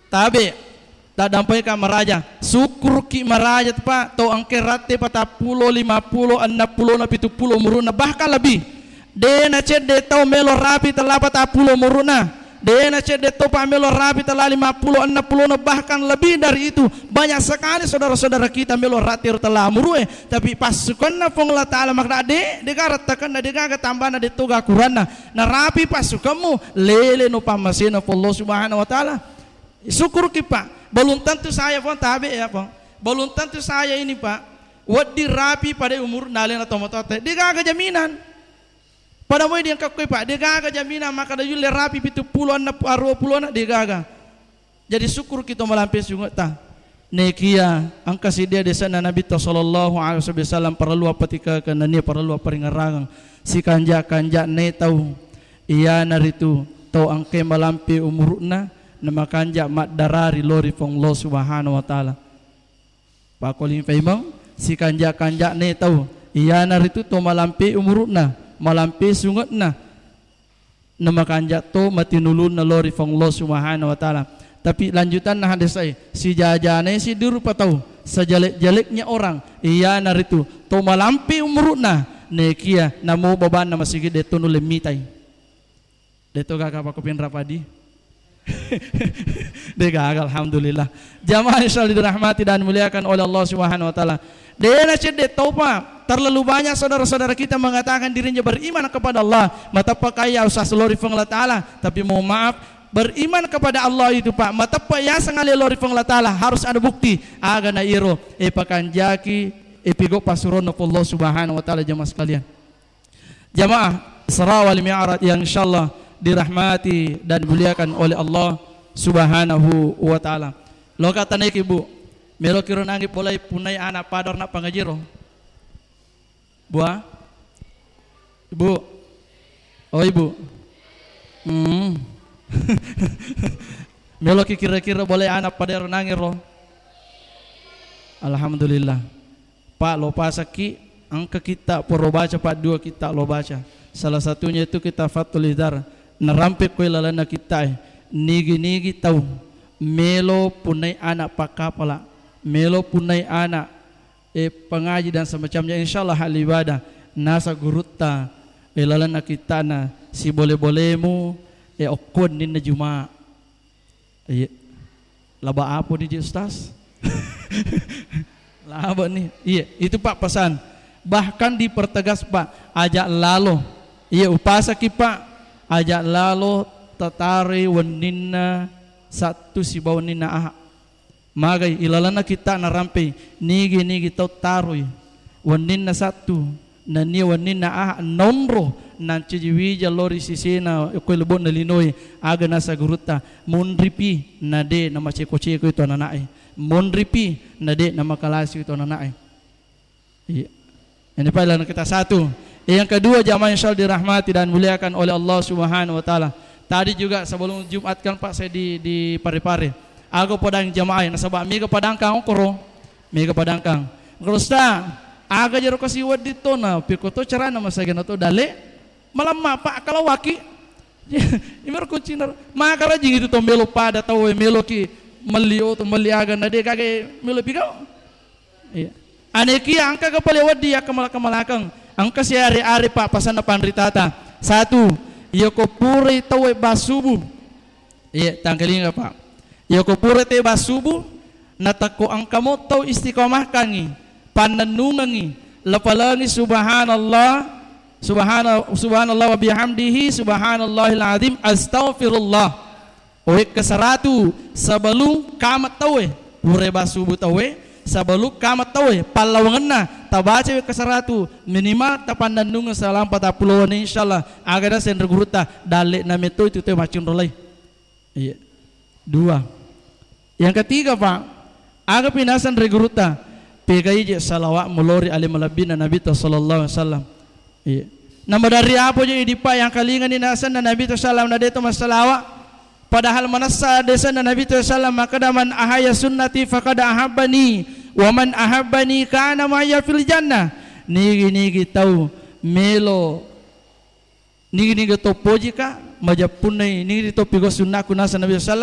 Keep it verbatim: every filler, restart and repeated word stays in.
Tabe, taddampai ka maraja. Sukkuruki maraja tu, Pak, tau engke ratte patappulo, limappulo, ennappulo na pituppulo umuruna, bahkan lebih. De na cedde tau melo rapi tella patappulo umuruna. De na cedde tau, Pak, melo rapi tella limappulo, ennappulo na, bahkan lebih dari itu. Banyak sekali saudara-saudara kita melo ratte ro tella umurue, tapi passukanna Puang Allah Taala makna de, de gaga rattakanna, de gaga tambana, de toga akuranna. Narapi passukammu, lele no pammasena Puang Allah Subhanahu wa Taala. Sukkuruki, Pak. Belum tentu saya, Puang, tabe ya, Puang. Belum tentu saya ini, Pak, wedding rapi pada umur nalena tomatoatta. De gaga jaminan. Pada moi diengka koi, Pak, de gaga jaminan makkada yulle rapi pituppulo, ennappulo, aruappulo na, de gaga. Jadi sukkuruki to malampe sungetta. Nekia engka siddia desenna Nabitta sallallahu alaihi wasallam parellu appatikakeng nennia parellu apparingerrangeng. Sikanja-kanja ne tau, iyanaritu tau engkae malampe umuru'na, namakanja maddara ri lao ri Puang Allah Subhanahu wa Ta'ala. Pakkoling paimeng, sikanja-kanja ne tau, iyanaritu to malampe umuru'na, malampe sunge'na, namakanja to matinulunna lao ri Puang Allah Subhanahu wa Ta'ala. Tapi lanjutanna hadis e, sijajane siddi rupa tau, sejelek-jeleknya orang, iyanaritu to malampe umuru'na, nekia namo babanna masigi de to nulle mitai. De to gaga pakko pinra padi. De gaga, alhamdulillah. Jamaah yang selalu dirahmati dan dimuliakan oleh Allah Subhanahu wa Ta'ala. De na cedde tau, Pak. Terlalu banyak saudara-saudara kita mengatakan dirinya beriman kepada Allah. Mateppa kaya usah selori Puang Allah Ta'ala. Tapi mohon maaf, beriman kepada Allah itu, Pak, mateppa yaseng ale lori Puang Allah Ta'ala harus ada bukti. Aga na iro, e pakanjaki, e pigo pasuronna Puang Allah Subhanahu wa Ta'ala, jamaah sekalian. Jamaah Isra wal Mi'raj yang insyaallah dirahmati dan dimuliakan oleh Allah Subhanahu wa Ta'ala. Loka tanaiki, Bu. Melo kiro nangi bolai punai anak pador na pangajiro. Bua? Ibu? Oh, Ibu. Hmm. Melo ki kira-kira bolai anak pador nangi ro. Alhamdulillah. Pak, lo pasakki, engka kitta poro baca, Pak, dua kitta lo baca. Salah satunya itu kitta Fathul Izar. Narampe koi lalenna kitta e. Nigi-nigi tau melo punai anak pakkapala, melo punai anak, e, pengaji dan semacamnya, insyaallah ahli ibadah. Nasa gurutta, e, lalenna kittana, sibole-bolemu, e, okko ninna Juma. Iya. Laba apa ni je, Ustaz? Laba ni. Iya, itu, Pak, pesan. Bahkan dipertegas, Pak, ajak lalo. Iya, upasaki, Pak, ajak lalo tataroi wenninna Sattu sibawa wenninna Aha. Magai ilalenna kitta narampei, nigi-nigi tau taroi wenninna Sattu, nennia wenninna Aha naonro nancaji wija lao ri sisena okko lebo'na linoe, aga nasa gurutta, monripi na de namaceko-ceko itu anana'e, monripi na de namakalasi itu anana'e. Iya. Ini Pak, lalenna kitta Sattu. Yang kedua, jamaah yang selalu dirahmati dan dimuliakan oleh Allah Subhanahu wa Ta'ala. Tadi juga sebelum Jumat kan, Pak, saya di, di Parepare. Aga podang jamaah, nasaba mega padangkang okoro. Mega padangkang. Kalau Ustaz, aga jero kasi wedding to na, piko to carana masagana to dalle. Malamma, Pak, kalau waki. Imero kuncina. Maka rajing itu to melo pada tau, melo ki melli oto, melli aga, na de gaga melo pigau. Iya. Anekia engka ga pale wedding yakkamala-kamalakeng. Engka siare-are, Pak, pasanna panritata. Satu, iyako purai tauwe bassubu. Iya, tangkalinga, Pak. Iyako purai tauwe bassubu, natakko engkamo tau istiqomahkangngi, pannennungengngi, lapalengi subhanallah, subhana-, subhanallah wa bihamdihi, subhanallahil azim, astaghfirullah. Wekka saratu sebelum kama tauwe, pura bassubu tauwe, sebelum kama tauwe, pallawangenna, tabaca wekka saratu, minimal tapannennungeng selama patappulo wenni, insyaallah, aga naseng ri gurutta, dalle na metto itu tauwe maccinro lai. Iya. Dua. Yang ketiga, Pak, aga pi naseng ri gurutta, pegai je salawat melori ale malebbina Nabitta sallallahu alaihi wasallam. Iya. Namaderri apa je idi, Pak, yang kalingani nasenna Nabitta sallam na deto massalawa. Padahal manessa desenna Nabitta sallam makkeda, "Man ahaya sunnati faqad ahabbani, wa man ahabbani kana ma'ya fil jannah." Nigi-nigi tau melo, nigi-nigi to pojika, majeppunnai, nigi to pigo sunnaku naseng Nabitta sallam.